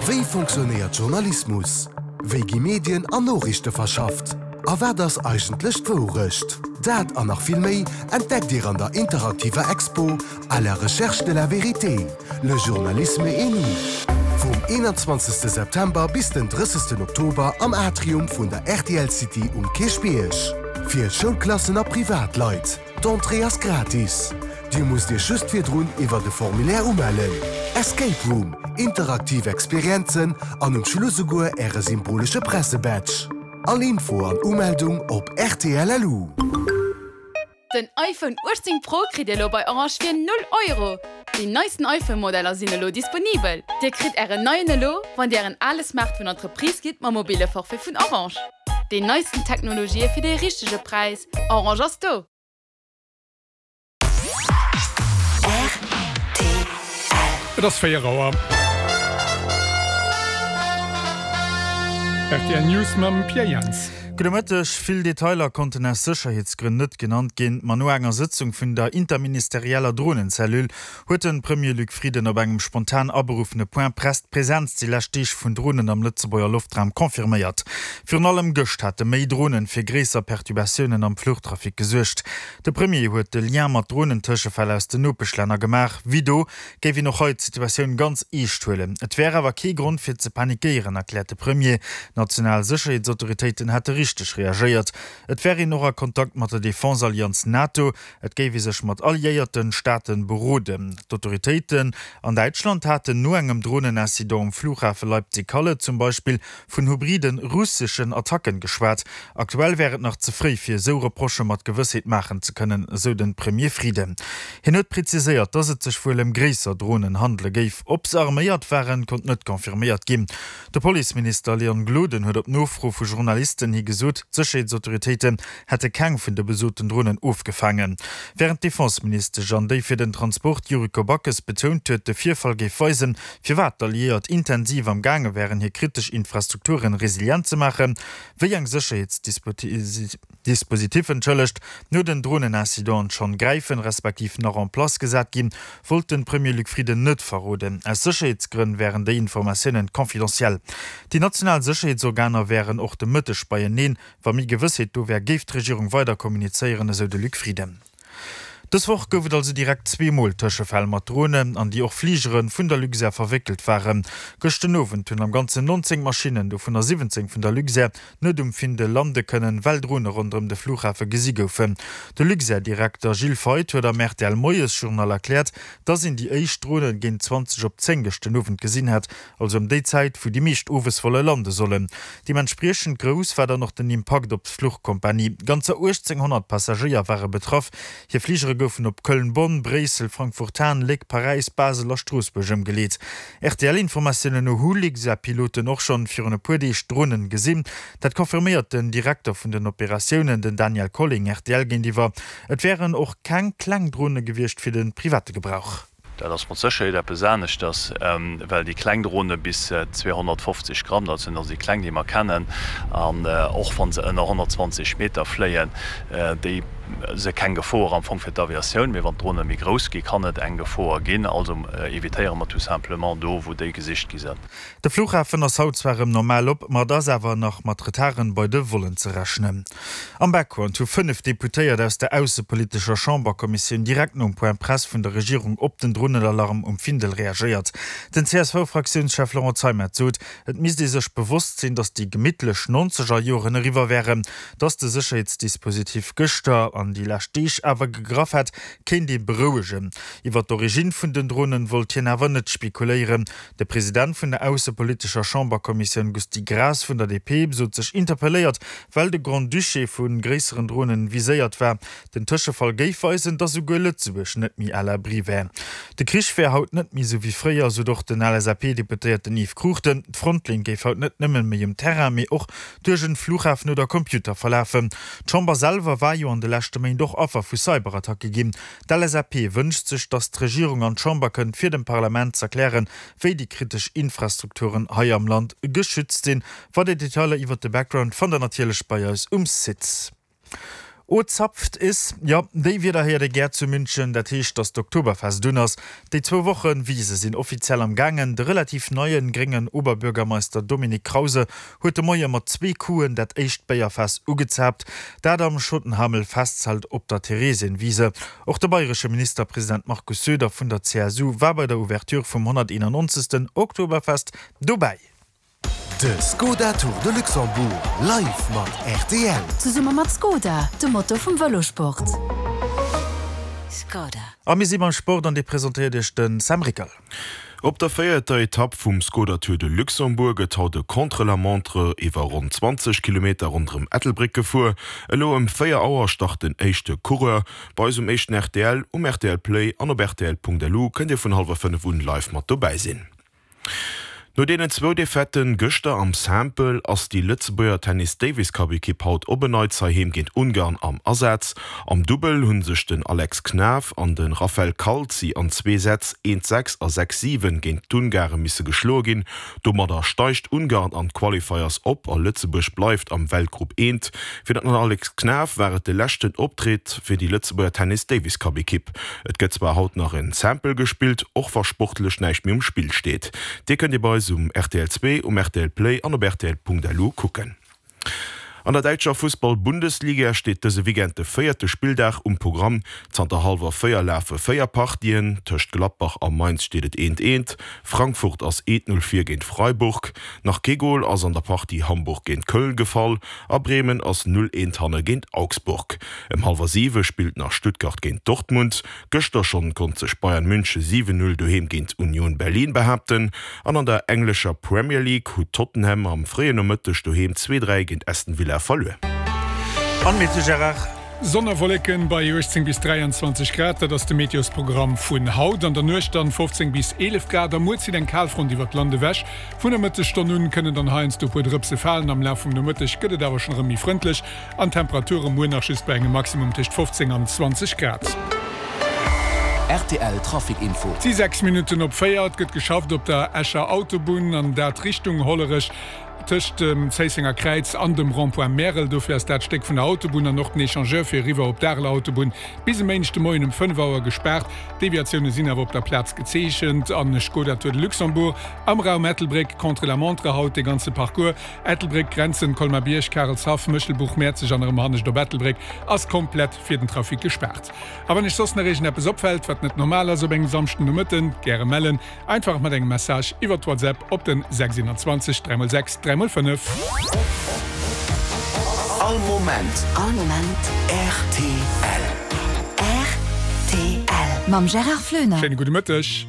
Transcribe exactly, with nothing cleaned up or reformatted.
Wéi fonctionnéiert Journalismus? Wéi gi Medien an Noriichte verschafft? A wat ass eigentlech d'Wourecht? Dat an nach vill méi entdeckt Dir an der interaktiver Expo À la recherche de la vérité, le journalisme et nous. Vum eenanzwanzegste September bis den drëssegsten Oktober am Atrium vun der rtl City um Kierchbierg. Fir Schoulklassen a Privatleit, D'Entrée ass gratis. Dir musst Iech just virdrun iwwer de Formulaire umellen. Escape Room, interaktiv Experienzen an um Schluss souguer Äre symbolesche Pressebadge. All Info an Umeldung op rtl.lu. Den iPhone uechtzéng Pro kritt Dir elo bei Orange fir null Euro! Déi neisten iPhone-Modeller sinn elo disponibel. Dir kritt Ären neien elo, wann Dir Ären ale Smartphone an d'Reprise gitt mam mobile Forfait vun Orange. Déi neisten Technologië fir de richtege Präis, Orange ass do! Et ass véier Auer. Rtl News mam Pierre Jans. Gudde Mëtteg. Vill Detailer konnten aus Sécherheetsgrënn net genannt ginn, ma no enger Sëtzung vun der interministerieller Dronencellule huet de Premier Luc Frieden op engem spontan aberuffene Point presse d'Presenz déi lescht Deeg vun Dronen am Lëtzebuerger Loftraum confirméiert. Virun allem gëscht hate méi Dronen fir gréisser Perturbatiounen am Fluchtrafic gesuergt. De Premier huet de Lien mat Dronentëschefäll aus den Nopeschlänner gemaach. Wéi do géif een och hei d'Situatioun ganz eescht huelen. Et wär awer kee Grond fir ze panikéieren, erkläert de Premier. D'national Sécherheetsautoritéiten hätte richteg reagéiert. Et wär een och a Kontakt mat der Defense-Allianz NATO. Et géif ee sech mat alliéierte Staate beroden. D'Autoritéiten an Däitschland haten no engem Dronenincident um Flughafe Leipzig-Halle zum Beispill vun hybriden russeschen Attacken geschwat. Aktuell wär et nach ze fréi fir esou Reprochë mat Gewëssheet maachen ze kënnen, esou de Premier Frieden. Hien huet preziséiert, datt et sech wuel ëm gréisser Dronen handele géif. Ob se arméiert waren, konnt net confirméiert ginn. De Policeminister Leon Gloden huet op Nofro vu Journalisten hi gesot, d'Sécherheetsautoritéiten hätte keng vun de besoten Dronen ofgefaangen. Wärend d'Defenseministesch an déi fir den Transport Yuriko Backes betount huet, de Virfall géif weisen, firwat d'Alliéiert intensiv am gaange wären, hir kritesch Infrastrukturen resilient ze maachen. Wéi eng Sécherheetsdispositiffen, entschëllegt, no den Dronenincidenten schonn gräifen, respektiv nach en place gesat ginn, wollt de Premier Luc Frieden net verroden. Aus Sécherheetsgrënn wären déi Informatiounen confidentiel. Déi national Sécherheetsorganer wären och de Mëtteg beieneen. Wa méi Gewëssheet do wär, géif d'Regierung weider kommunizéieren, esou de Luc Frieden. Dës Woch gouf et also direkt zwee Mol Tëschefäll mat Dronen, an déi och Fligere vun der Luxair verwéckelt waren. Gëscht den Owend hunn am Ganzen nonzéng Maschinnen, dovunner siwwenzéng vun der Luxair, net um Findel lande kënnen, well Drone ronderëm de Flughafe gesi goufen. De Luxair-Direkter Gilles Feith huet am R T L-Moiesjournal erkläert, dass een déi éischt Drone géint zwanzeg op zéng gëscht den Owend gesinn hätt, also ëm déi Zäit, wou déi meescht owes wolle lande sollen. Deementspriechend grouss war dann och den Impakt op d'Fluchkompanie. Ganzer uechtzénghonnert Passagéier ware betraff. Hir Fligere goufen op Köln, Bonn, Bréissel, Frankfurt-Hahn, Léck, Paräis, Basel a Stroossbuerg ëmgeleet. R T L-Informatiounen no hu Luxair-Piloten och schonn virun e puer Deeg Dronen gesinn. Dat confirméiert den Direkter vun den Operatiounen, den Daniel Colling, R T L géintiwwer. Et wären och keng kleng Drone gewiescht fir de private Gebrauch. Dat ass mat Sécherheet eppes aneschters, well déi kleng Drone bis zweehonnertfofzeg Gramm, dat sinn also déi kleng, déi mer kennen, an och wa se ënner honnertzwanzeg Meter fléien, déi si keng Gefor am Fong fir d'Aviatioun. Mee wann d'Drone méi grouss gi kann et eng Gefor ginn. Also evitéiere mer tout simplement do, wou déi gesicht gi sinn. De Flughafen ass haut zwar erëm normal op, ma et ass awer nach mat Retarden bei de Vollen ze rechnen. Am Background hu fënnef Deputéiert aus der aussepolitescher Chamberkommissioun direkt nom Point Presse vun der Regierung op den Dronenalarm um Findel reagéiert. Den C S V-Fraktiounschef Laurent Zeimet sot, et misst ee sech bewosst sinn, datt déi gemittlech nonzeger Joren eriwwer wären. Datt de Sécherheetsdispositif gëschter an déi lescht Deeg awer gegraff hätt, kéint ee berouegen. Iwwer d'Originn vun den Dronen wollt hien awer net spekuléieren. De President vun der aussepolitescher Chamberkommissioun Gusty Graas vun der D P sot sech interpelléiert, well de Grand-Duché vu gréisseren Dronen viséiert war. Den Tëschefall géif weisen, datt souguer Lëtzebuerg net méi à l'abri wär. De Krich wär haut net méi esou wéi fréier, sot och den L S A P-Deputéierten Yves Cruchten. D'Frontlinn géif haut net nëmmen méi um Terrain, mee och duerch en Flughafen oder Computer verlafen. D'Chamber selwer war jo an de leschte Méint och Affer vu Cyberattacke ginn. D'L S A P wënscht sech, datt d'Regierung an d'Chamber kënnt, fir dem Parlament z'erklären, wéi déi kritesch Infrastrukturen hei am Land geschützt sinn. Weider Detailer iwwert de Background fannt der natierlech bei eis um Site. O zapft is, jo, déi Wierder héiert ee gär zu München, dat heescht, dass d'Oktoberfest un ass. Déi zwou Woche Wise sinn offiziell am gaangen. De relativ neien, gréngen Oberbürgermeister Dominik Krause huet de Moie mat zwee Couen dat éischt Béierfaass ugezaapt, dat am Schottenhamel-Festzelt op der Theresienwiese. Och de bayresche Ministerpresident Markus Söder vun der C S U war bei der Ouverture vum honnerteenannonzegsten Oktoberfest dobäi. De Skoda Tour de Luxembourg live mat R T L. Zesumme mat Skoda, dem Motor vum Vëlosport. Skoda. A mir si beim Sport an dee presentéiert Iech de Sam Rickel. Op der véierter Etapp vum Skoda Tour de Luxembourg gëtt haut e Contre-la-montre iwwer ronn zwanzeg Kilometer ronderëm Ettelbréck gefuer. Elo ëm véier Auer start den éischte Coureur. Bei eis um éischten R T L, um R T L Play an op R T L punkt L U kënnt Dir vun hallwer fënnef un live mat dobäi sinn. No deenen zwou Defaitë gëschter am Simple ass déi Lëtzebuerger Tennis Davis Cup Ekipp haut op en Neits heiheem géint Ungarn am Asaz. Am Dubbel hunn sech den Alex Knaff an de Rafael Calzi an zwee Sätz eent sechs a sechs siwen géint d'Ungare misse geschloe ginn. Domadder steigt Ungarn an d'Qualifiers op a Lëtzebuerg bleift am Weltgrupp eent. Fir den Alex Knaff war et de leschten Optritt fir déi Lëtzebuerger Tennis Davis Cup Ekipp. Et gëtt zwar haut nach en Simple gespillt, och wa sportlech näischt méi um Spill steet. Dee kënnt Dir bei eis um R T L zwee, um R T L Play an op R T L punkt L U kucken. An der däitscher Fussball-Bundesliga steet dëse Weekend de véierte Spilldag um Programm. Zanter hallwer véier lafe véier Partien. Tëscht Gladbach a Mainz steet et eent eent. Frankfurt ass eent null vir géint Freiburg. Nach kee Gol ass an der Partie Hamburg géint Köln gefall. A Bremen ass null eent hanne géint Augsburg. Ëm hallwer siwe spillt nach Stuttgart géint Dortmund. Gëschter schonn konnt sech Bayern München siwen null doheem géint Union Berlin behaapten. An an der englescher Premier League huet Tottenham am fréien Nomëtteg doheem zwee dräi géint Aston Villa verluer. An mit Gérard. Sonn a Wolleken bei uechtzéng bis dräianzwanzeg Grad, dat ass de Meteosprogramm vun haut. An der Nuecht dann fofzéng bis eelef Grad. Am Muer zitt eng Kalfront iwwer d'Land ewech. Vun der Mëttesstonn un kënnen dann heiansdo e puer Drëpse falen. Am Laf vum Nomëtteg gëtt et awer schonn erëm méi frëndlech an Temperature muer nach just bei engem Maximum tëscht fofzéng an zwanzeg Grad. R T L Trafic Info. Et si sechs Minutten op véier. Et gëtt geschafft op der Escher Autobunn an dat Richtung Hollerech tëscht dem Zéissenger Kräiz an dem Rond-point Märel. Dofir ass dat Stéck vun der Autobunn an och den Echangeur fir eriwwer op d'Areler Autobunn bis e Méindeg de Moien um fënnef Auer gespaart. Deviatioune sinn awer op der Plaz gezeechent. An Skoda Tour de Luxembourg am Raum Ettelbréck contre la montre haut de ganze Parcours. Ettelbréck, Grenzen, Colmar-Bierg, Karelshaff, Méchelbuch, Mäerzeg an erëm hannescht op Ettelbréck ass komplett fir den Trafic gespaart. A wann iech soss nach iergendeppes opfält, wat net normal ass op engem Samschden Nomëtten, gäre mellen. Einfach mat engem Message iwwer WhatsApp op den sechs eenundzwanzeg dräi mol sechs dräi mol fënnef. All Moment. All Moment. R T L. R T L. Mam Gérard Flöner. Schéine gudde Mëtteg.